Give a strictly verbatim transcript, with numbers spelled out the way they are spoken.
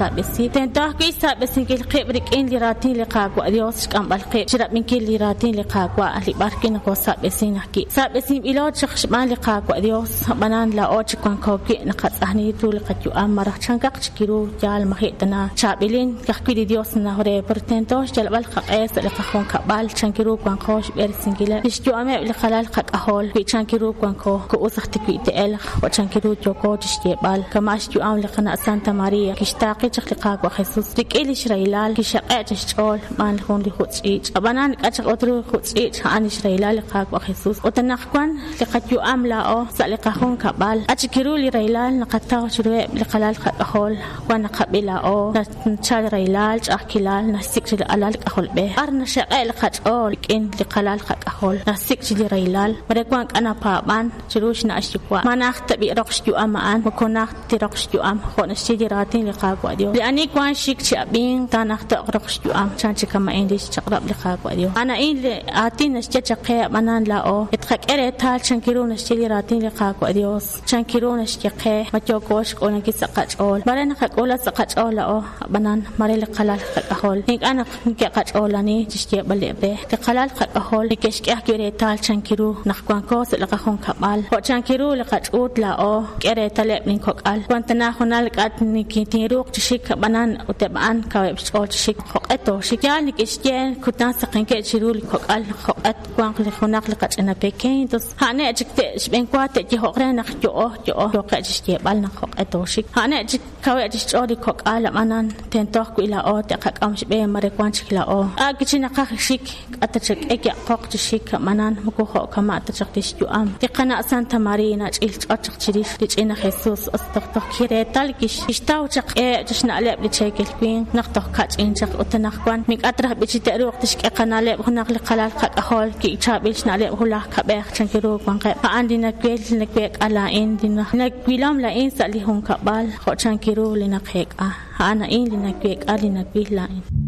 naqasab'esi. Tento ajwi' xsab'esinkil qib' rik'in li raatin li Qaawa' Dios, xk'amb'al qib' chirab'inkil li raatin li Qaawa' li b'ar wi' nokosab'esin ajwi'. Sab'esinb'ilo chaq xb'aan li Qaawa' Dios, ab'anan laa'o chi wanko wi' naqatz'ajni ru li qayu'am maraj chankaq chik ru yaal maji' tana chaab'ilin ka'ajwi' li Dios nanaw re, pero tento xyalb'al qaq'e sa' li qajunkab'al chanki ru wanqo xb'eresinkileb' li xyu'ameb' li qalal qak'ajol wi' chanki ru wanko ku'us aj tiwi' te'elq jo' chanki ru yooko chi xyeeb'al kama' xyu'am li qana' Santa Maria kixtaaqi chaq li Qaawa' Jesus rik'in li xrahilal kixaq'e' chi xch'ool xb'aan jun li jutz'ch'iich' ab'anan k'a chaq ut ru jutz'ch'iich' a'an li xrahilal li Qaawa' Jesus ut anaqwan li qayu'am laa'o sa' li qajunkab'al k'a chik ru li rahilal naqataw chiruheb' li qalal qak'ajol wan naqab'i laa'o nachal rahilal ch'a'ajkilal naxsik' chi li alal k'ajolb'ej b'ar naxaq'e' li qach'ool rik'in li qalal qak'ajol naxsik' chi li rahilal mare wan k'a napaab'an chiru xna' xyuwa' ma najt tab'i roq xyu'am a'an moko najt ti roq xyu'am jo' naxye li raatin li Qaawa' Dios li ani wan xik chi ab'ink taanajto'q roq xyu'am chan chi kama'in li xchaq'rab' li Qaawa' Dios a'an a'in li aatin naxye chaq qe ab'anan laa'o etqak'e reetal chanki ru naxye li raatin li Qaawa' Dios chanki ru naxye qe ma yooko xk'uulankil sa' qach'ool mare naqak'uula sa' qach'ool laa'o ab'anan mare li qalal qak'ajol ink'a' naq neke'qach'oolani chi xyeeb'aleb' re li qalal qak'ajol neke'xk'e ajwi' reetal chanki ru naq wanko sa' li qajunkab'al jo' chanki ru li qach'uut laa'o k'e reetaleb' linkok'al wan tana junal k'a tinruuq chi xik ab'anan ut eb' a'an kaweb' xch'ool chi xik jo'q'e tooxik yaal neke'xye kutan saqenkeb' chiru li kok'al jo'q'e wanq li junaq li qach'ina pequeño entonces a'ane' chik te' xb'enwa te'yejo'q re naq yo'o yo'o yoqe' chi xyeeb'al naq jo'q'e tooxik a'ane' chik kaweb' chi xch'ool li kok'al ab'anan tento ajwi' laa'o te'qak'am xb'e mare wan chik laa'o a' kichi naqaj xik k'a ta chak'e ya'qoq chi xik ab'anan moko jo' kama' ta chaq li xyu'am li qana' Santa Maria nach'il ch'och chaq chirix li ch'ina Jesus os toj toj kireetal kixtaw chaq k'eheb' chi xna'leb' li cheekel winq naq toj kach'in chaq ut anaqwan mink'a traj b'i chi te'ruuq tixk'e qana'leb' junaq li qalal qak'ajol kichaab'il xna'leb' julaj kab'ej chanki ru wanqeb' a'an li nawel li naweek'a laa'in li nawilom laa'in sa' li junkab'al jo' chanki ru li naqeek'a a'an a'in li naweek'a li nawil laa'in.